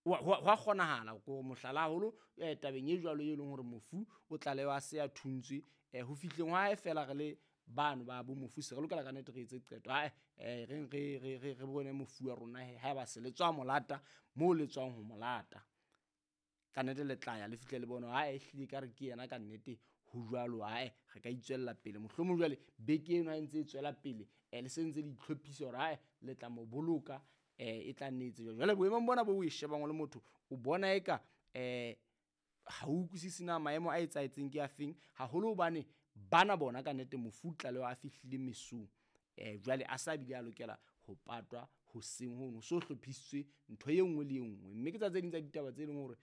Ho a kgonahala ko mohlala haholo tabeng e jwalo e leng hore mofu o tlalewa a se a thuntswe ho fihleng hwa hae feela re le bano ba bo mofu se re lokela ka nnete re etse qeto ae reng re bone mofu wa rona he haeba se le tswa molata moo le tswang ho molata. Ka nnete le tla ya le fihle le bone hore ae ehlile ekare ke yena ka nnete ho jwalo ae re ka itswella pele. Mohlomong jwale beke eno ha e ntse e tswela pele le se ntse le itlhophisa hore ae le tla mo boloka e tla nne etse jwalo. Jwale boemong bona bo o e shebang o le motho o bona eka ha o utlwisise na maemo a etsahetseng ke afeng, haholo hobane bana bona ka nnete mofu o tlalewa a fihlile mesong. Jwale a sa bile a lokela ho patwa hoseng hono, ho so hlophisitswe ntho e nngwe le e nngwe. Mme ke tsa tse ding tsa ditaba tse leng hore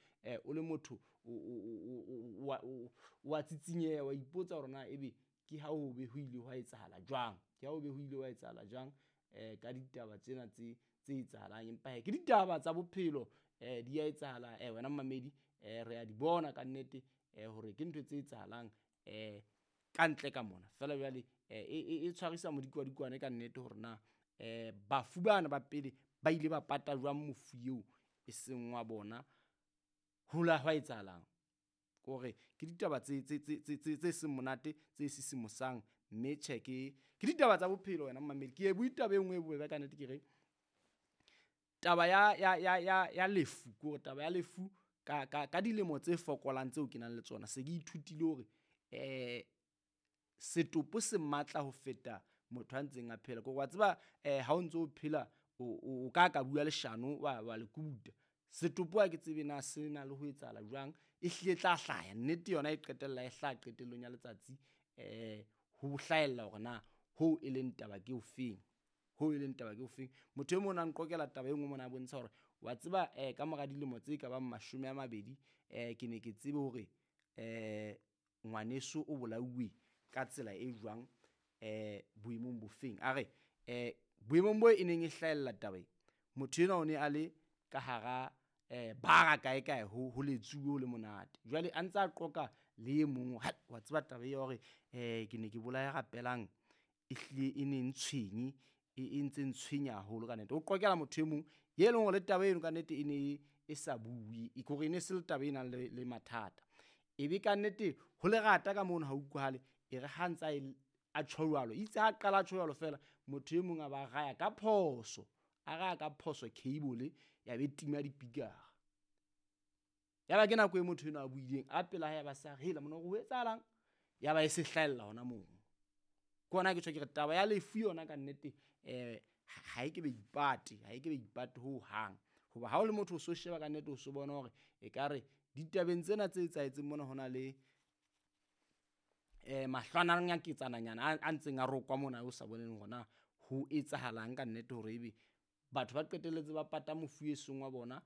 o le motho o a tsitsinyeha, wa ipotsa hore na ebe ke ha ho be ho ile hwa etsahala jwang, ke ha ho be ho ile hwa etsahala jwang ka ditaba tsena tse etsahalang. Empa hee ke ditaba tsa bophelo di a etsahala wena mmamedi re a di bona ka nnete hore ke ntho tse etsahalang ka ntle ka mona. Feela jwale e tshwarisa modikwadikwane ka nnete hore na bafu bana ba pele ba ile ba pata jwang mofu eo e seng wa bona, ho la hwa etsahalang. Ke hore ke ditaba tse seng monate, tse sisimosang, mme tjhe ke ditaba tsa bophelo wena mmamedi. Ke e bue taba e nngwe e bobebe ka nnete ke re taba ya lefu, ke hore taba ya lefu ka dilemo tse fokolang tseo ke nang le tsona se ke ithutile hore setopo se matla ho feta motho a ntseng a phela. Ke hore wa tseba ha o ntso phela o ka bua leshano wa le kubuta. Setopo ha ke tsebe na se na le ho etsahala jwang, e hlile e tla hlaya nnete yona e qetella e hlaha qetellong ya letsatsi ho hlahella hore na hoo e leng taba ke ofeng, hoo e leng taba ke ofeng. Motho e mong a nqokela taba e nngwe mona a bontsha hore wa tseba ka mora dilemo tse ka bang 20 ke ne ke tsebe hore ngwaneso o bolauwe ka tsela e jwang boemong bofeng. A re boemong bo e neng e hlahella taba e, motho enwa o ne a le ka hara bara kae kae ho letsuwe ho le monate. Jwale a ntse a qoqa le e mong hai wa tseba taba ya hore ke ne ke bolaya rapelang e hlile e ne ntshwenye, e ntse ntshwenya haholo ka nnete. O qoqela motho e mong ye leng hore le taba eno ka nnete e ne e sa bue, ke hore e ne se le taba e nang le mathata. Ebe ka nnete ho lerata ka mono ha utlwahale, e re ha ntsa a tjho jwalo, itse ha qala a tjho jwalo feela motho e mong a ba raya ka phoso, a raya ka phoso cable ya be tima dipikara. Ya ba ke nako e motho enwa a buileng a pela hae ba sa re hela mona hore ho etsahalang, ya ba e se hlahella hona moo. Ke hona ke tjho ke re taba ya lefu yona ka nnete ha e ke be ipate, ha e ke be ipate ho hang. Hoba ha o le motho o so sheba ka nnete o so bona hore ekare ditabeng tsena tse etsahetseng mona hona le mahlwananyaketsananyana a ntseng a rokwa mona o sa boneng hore na ho etsahalang ka nnete hore ebe batho ba qetelletse ba pata mofu e seng wa bona.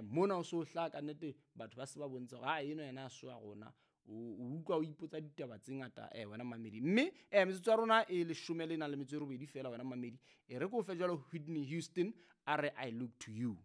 Mona o so hlaha ka nnete batho ba se ba bontsha hore ha enwa yena ha se wa rona. O utlwa o ipotsa ditaba tse ngata wena mmamedi. Mme metsotso ya rona e 18 feela wena mmamedi. E re ke o fe jwalo Whitney Houston a re I look to you.